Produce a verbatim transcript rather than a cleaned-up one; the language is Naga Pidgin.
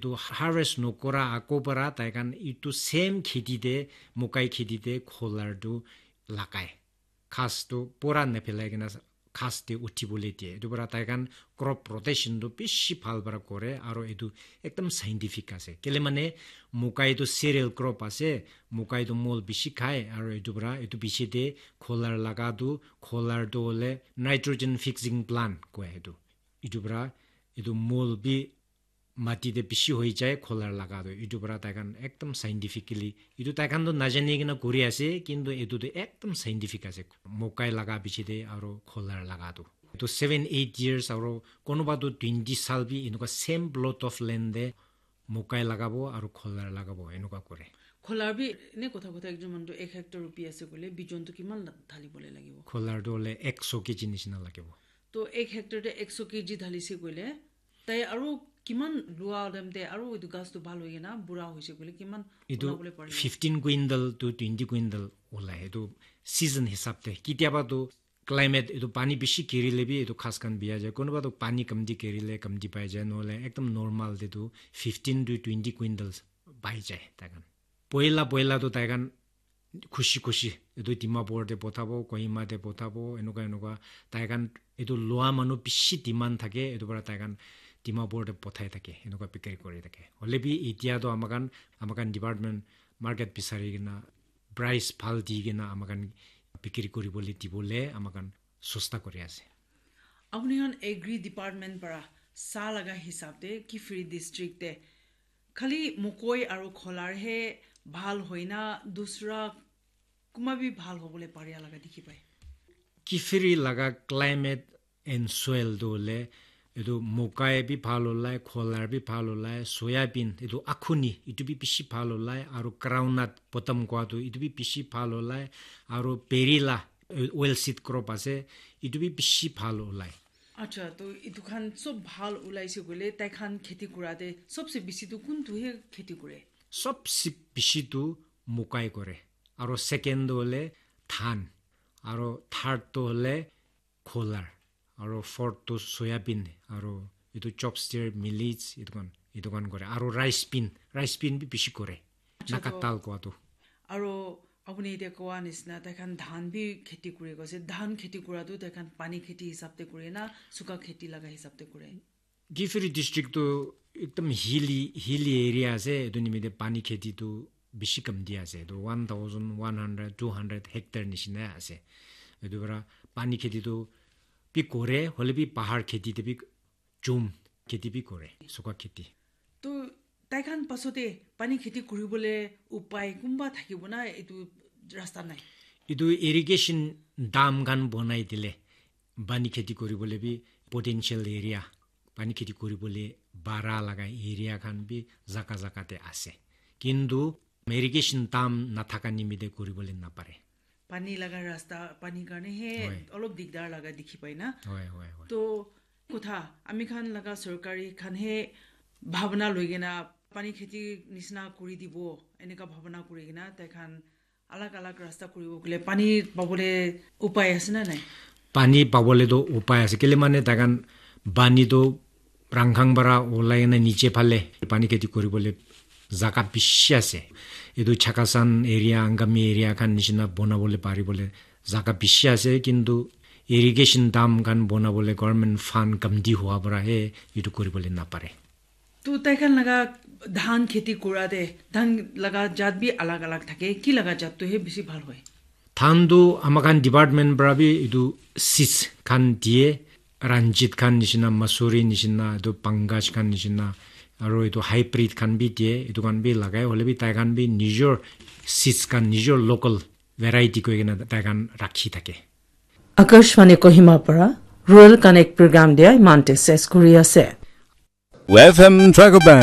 Tu harvest nokora ako para tai khan itu same kheti te, mokai kheti te kholar tu lagai. Ghas tu pura nephelai kena ghas te uthibole diye. Itu para tai khan crop rotation tu bishi bhal para kore, aro itu ekdam scientific ase. Kele mane mokai tu cereal crop ase, mokai tu mol bishi khai, aro itu para itu piche te kholar laga tu, kholar tu hole nitrogen fixing plant koi itu. Itu para itu mol bi mati te bishi hoi jai kholar laga tu. Itu para tai khan ekdam scientifically, itu tai khan tu najani kena kuri ase, kintu itu tu ekdam scientific ase. Mokai laga piche te aro kholar laga tu. Itu seven, eight years aro konoba tu twenty sal bi enuka same plot of land te mokai lagabo aro kholar lagabo enuka kore. Kholar bi ene kotha kotha ekjon manu tu ek hectare rupi ase koile bijon tu kiman la-, dhali bole lagibo? Kholar tu hole ekso kg nishina lagibo. To ek hectare te ekso kg dhalise koile, tai aru kiman lua time te aru etu ghas tu bhal hoi kena bura hoise koile kiman Etu ulabole paribo? Fifteen quintal to twenty quintal ulai, etu season hisab te. Kitiaba tu climate, etu pani bishi girile bi etu ghas khan bia jai. Konoba tu pani kamti girile kamti pai jai, nohole ekdam normal te tu fifteen to twenty quintals pai jai tai khan. Poila poila tu tai khan khushi khushi etu Dimapur te pothabo, Kohima te pothabo, enuka enuka tai khan etu lua manu bishi demand thake, etu para tai khan Dimapur te pothai thake, enuka bikiri kuri thake. Hoile bi etia tu amakhan, amakhan department market bisari kena price bhal di kena amakhan bikiri kuribole dibole amakhan sosta kuri ase. Apuni khan agri department para sa laga hisab te Kiphire district te khali mokoi aru kholar he bhal hoina dusra kuma bi bhal hobole paria laga dikhi pai? Kiphire laga climate and soil tu hole etu mokai bi bhal olai, kholar bi bhal olai, soya bean etu akhuni etu bi bishi bhal olai, aru groundnut bottom kua tu etu bi bishi bhal olai, aru perila, eh, oil seed crop ase, etu bi bishi bhal olai. Acha, to etu khan sob bhal ulaise koile tai khan kheti kura te sobse bishi tu kuntu he kheti kure? Sobse bishi tu mokai kore, aro second tu hole dhan, aro third tu hole kholar, aro fourth tu soya bean, aro etu chopstick, millets, etu khan, etu khan kore, aro rice bean, rice bean bi bishi kore. Acha, Naga to dal kua tu. Aro apuni etia koa nisna tai khan dhan bi kheti kuri ase, dhan kheti kura tu tai khan pani kheti hisab te kure na suka kheti laga hisab te kure? Kiphire district tu ekdam hilly, hilly area ase, etu nimite pani kheti tu bishi kamti ase, etu one thousand one hundred, two hundred hectare nishina ase. Etu para pani kheti tu bi kore, hole bi bahar kheti te bi jhum kheti bi kore, suka kheti. To tai khan pasote pani kheti kuribole upai kumba thakibo na etu rasta nai? Etu irrigation dam khan bonai dile pani kheti kuribole bi potential area, pani kheti kuribole bara laga area khan bi jaga jaga te ase. Kintu irrigation dam nathaka nimite kuribole napare. Pani laga rasta, pani karne he Hoi. Olop digdar laga dikhi pai na. Hoi, hoi, hoi. To kotha, ami khan laga sorkari khan he bhabna loi kena pani kheti nisna kuri dibo, eneka bhabna kuri kena tai khan alag alag rasta kuribo kule pani pabole upai ase na nai? Pani pabole to upai ase, kele mane tai khan pani to Rangkhang para olai kena niche phale pani kheti kuribole jaga bishi ase. Etu Chakhesang area, Angami area khan nishina bonabole paribole jaga bishi ase, kintu irrigation dam khan bonabole government fund kamti hua para he etu kuribole napare. To tai khan laga dhan kheti kura te, dhan laga jat bi alag alag thake, ki laga jat tu he bishi bhal hoi? Dhan tu amakhan department para bi etu seeds khan diye, Ranjit khan nishina, Masuri nishina, etu Pankaj khan nishina, aro etu hybrid khan bi diye, etu khan bi lagai, hole bi tai khan bi nijor seeds khan, nijor local variety koi kena tai khan rakhi thake. Akashvani Kohima para Rural Connect program dia imante ses kuri ase. F M Tragoban.